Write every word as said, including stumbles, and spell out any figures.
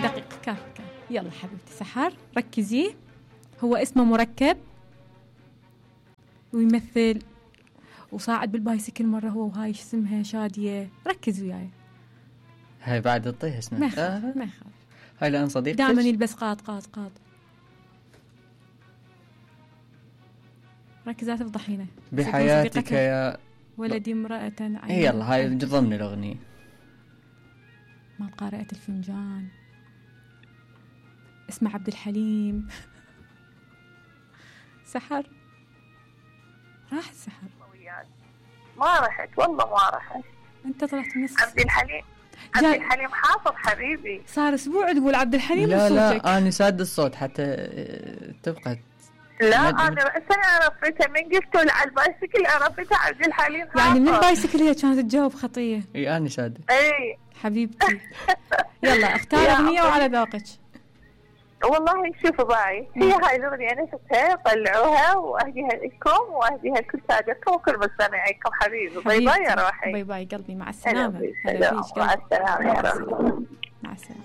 دقيقة كاف كاف. يلا حبيبتي سحر ركزي. هو اسمه مركب ويمثل وصاعد بالبايسكل مرة هو وهاي اسمها شادية. ركز وياي. هاي بعد تطيح اسمها. ما يخاف آه. ما يخاف. هاي لأن صديقتك دائما يلبس قاط قاط قاط. ركز لا تفضحينه. بحياتك يا ولدي امرأة عين. اي يلا هاي ضمن الأغنية. ما قارئة الفنجان. اسمه عبد الحليم. سحر راح السحر. ما رحت والله ما رحت. انت طلعت من الس... عبد الحليم عبد الحليم حافظ حبيبي. صار اسبوع تقول عبد الحليم لا وصوتك. لا انا ساد الصوت حتى تبقى. لا انا رأسا عرفتها من قلت له على البايسكل عرفتها عبد الحليم حافظ. يعني من البايسكل هي كانت تجاوب خطية. اي انا ساد. اي حبيبتي. يلا اختار اغنية وعلى ذوقك. والله شوفوا باي هي هاي الأغنية أنا شفتها طلعوها وأهديها لكم وأهديها لكل سادتكم وكل مستمعيكم حبيبي. باي باي يا روحي. باي باي قلبي مع السلامة. مع السلامة يا رب. مع السلامة.